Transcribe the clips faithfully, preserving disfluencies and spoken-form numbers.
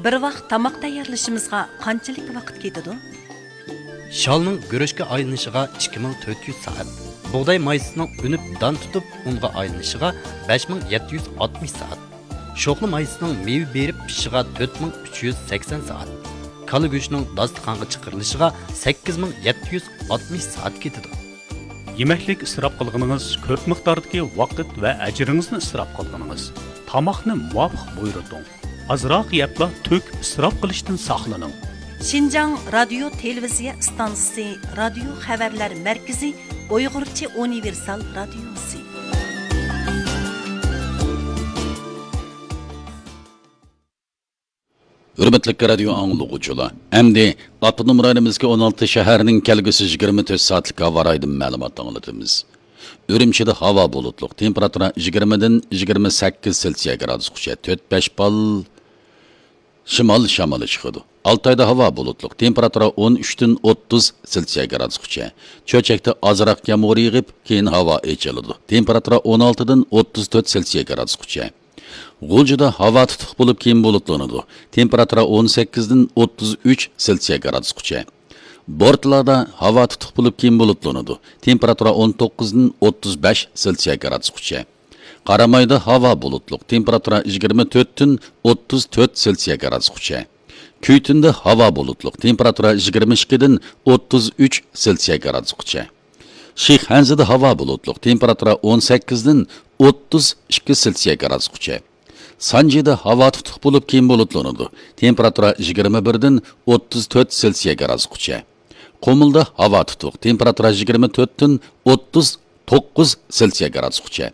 بىر ۋاق تاماق تەييارلىشىمىزغا قانچىلىك ۋاقىت كېتىدۇ؟ شالنىڭ گۈرۈچكە ئايلىنىشىغا ئىككى مىڭ تۆت يۈز سائەت، بۇغداي مايسىسىنىڭ ئۈنۈپ دان تۇتۇپ ئۇنغا ئايلىنىشىغا بەش مىڭ يەتتە يۈز ئاتمىش سائەت، شوخلا مايسىسىنىڭ مېۋە بېرىپ پىشىشىغا تۆت مىڭ ئۈچ يۈز سەكسەن سائەت، كالا گۆشىنىڭ داستىخانغا چىقىرىلىشىغا سەككىز مىڭ يەتتە يۈز ئاتمىش سائەت كېتىدۇ. يېمەكلىك ئىسراپ قىلغىنىڭىز كۆپ مىقداردىكى ۋاقىت ۋە ئەجرىڭىزنى ئىسراپ قىلغىنىڭىز. تاماقنى مۇۋاپىق بۇيرۇتۇڭ. ئازراق يەپلا تۆكۈپ ئىسراپ قىلىشتىن ساقلىنىڭ. شىنجاڭ رادىيو تېلېۋىزىيە ئىستانسىسى، رادىيو خەۋەرلەر مەركىزى، ئۇيغۇرچە ئۇنىۋېرسال رادىيوسى. ھۆرمەتلىك رادىيو ئاڭلىغۇچىلار، ئەمدى ئاپتونوم رايونىمىزدىكى ئون ئالتە شەھەرنىڭ كەلگۈسى يىگىرمە تۆت سائەتلىك ھاۋا رايىدىن مەلۇمات ئاڭلىتىمىز. ئۈرۈمچىدە ھاۋا بۇلۇتلۇق، تېمپېراتۇرا يىگىرمىدىن يىگىرمە سەككىز سېلسىيە گرادۇسقىچە، تۆت بەش بال شىمال شامىلى چىقىدۇ. ئالتايدا ھاۋا بۇلۇتلۇق، تېمپېراتۇرا ئون ئۈچتىن ئوتتۇز سېلسىيە گرادۇسقىچە. چۆچەكتە ئازراق يامغۇر يېغىپ، كېيىن ھاۋا ئېچىلىدۇ. تېمپېراتۇرا ئون ئالتىدىن ئوتتۇز تۆت سېلسىيە گرادۇسقىچە. غۇلجىدا ھاۋا تۇتۇق بولۇپ، كېيىن بۇلۇتلىنىدۇ. تېمپېراتۇرا ئون سەككىزدىن ئوتتۇز ئۈچ سېلسىيە گرادۇسقىچە. بورتالادا ھاۋا تۇتۇق بولۇپ، كېيىن بۇلۇتلىنىدۇ. تېمپېراتۇرا ئون توققۇزدىن ئوتتۇز بەش سېلسىيە گرادۇسقىچە. قارامايدا ھاۋا بۇلۇتلۇق، تېمپېراتۇرا يىگىرمە تۆتتىن ئوتتۇز تۆت سېلسىيە گرادۇسقىچە. كۈيتۈندە ھاۋا بۇلۇتلۇق، تېمپېراتۇرا يىگىرمە ئىككىدىن ئوتتۇز ئۈچ سېلسىيە گرادۇسقىچە. شىخەنزىدە ھاۋا بۇلۇتلۇق، تېمپېراتۇرا ئون سەككىزدىن ئوتتۇز ئىككى سېلسىيە گرادۇسقىچە. سانجىدا ھاۋا تۇتۇق بولۇپ، كېيىن بۇلۇتلىنىدۇ. تېمپېراتۇرا يىگىرمە بىردىن ئوتتۇز تۆت سېلسىيە گرادۇسقىچە. قۇمۇلدا ھاۋا تۇتۇق، تېمپېراتۇرا يىگىرمە تۆتتىن ئوتتۇز توققۇز سېلسىيە گرادۇسقىچە.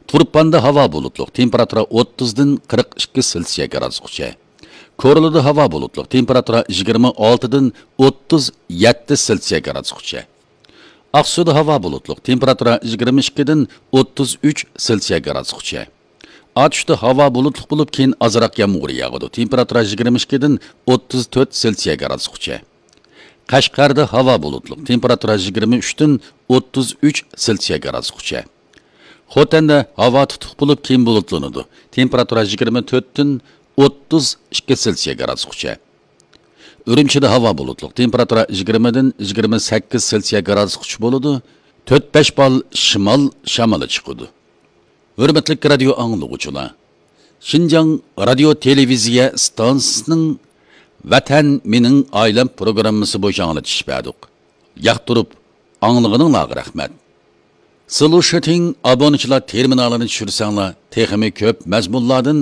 تۇرپاندا ھاۋا بۇلۇتلۇق، تېمپېراتۇرا ئوتتۇزدىن قىرىق ئىككى سېلسىيە گرادۇسقىچە. كورلىدا ھاۋا بۇلۇتلۇق، تېمپېراتۇرا يىگىرمە ئالتىدىن ئوتتۇز يەتتە سېلسىيە گرادۇسقىچە. ئاقسۇدا ھاۋا بۇلۇتلۇق، تېمپېراتۇرا يىگىرمە ئىككىدىن ئوتتۇز ئۈچ سېلسىيە گرادۇسقىچە. ئاتۇشتا ھاۋا بۇلۇتلۇق بولۇپ، كېيىن ئازراق يامغۇر ياغىدۇ. تېمپېراتۇرا يىگىرمە ئىككىدىن ئوتتۇز تۆت سېلسىيە گرادۇسقىچە. قەشقەردە ھاۋا بۇلۇتلۇق، تېمپېراتۇرا يىگىرمە ئۈچتىن ئوتتۇز ئۈچ سېلسىيە گرادۇسقىچە. خوتەندە ھاۋا تۇتۇق بولۇپ، كېيىن بۇلۇتلىنىدۇ. تېمپېراتۇرا يىگىرمە تۆتتىن ئوتتۇز ئىككى سېلسىيە گرادۇسقىچە. ئۈرۈمچىدە ھاۋا بۇلۇتلۇق، تېمپېراتۇرا يىگىرمىدىن يىگىرمە سەككىز سېلسىيە گرادۇسقىچە بولىدۇ. تۆت بەش بال شىمال شامىلى چىقىدۇ. ھۆرمەتلىك رادىيو ئاڭلىغۇچىلار، شىنجاڭ رادىيو تېلېۋىزىيە ئىستانسىسىنىڭ ۋەتەن مېنىڭ ئائىلەم پروگراممىسى بويىچە ئاڭلىتىش بەردۇق. ياقتۇرۇپ ئاڭلىغىنىڭلارغا رەھمەت. سلۇشىتىڭ ئابۇنىچىلار تېرمىنالىنى چۈشۈرسەڭلار، تېخىمۇ كۆپ مەزمۇنلاردىن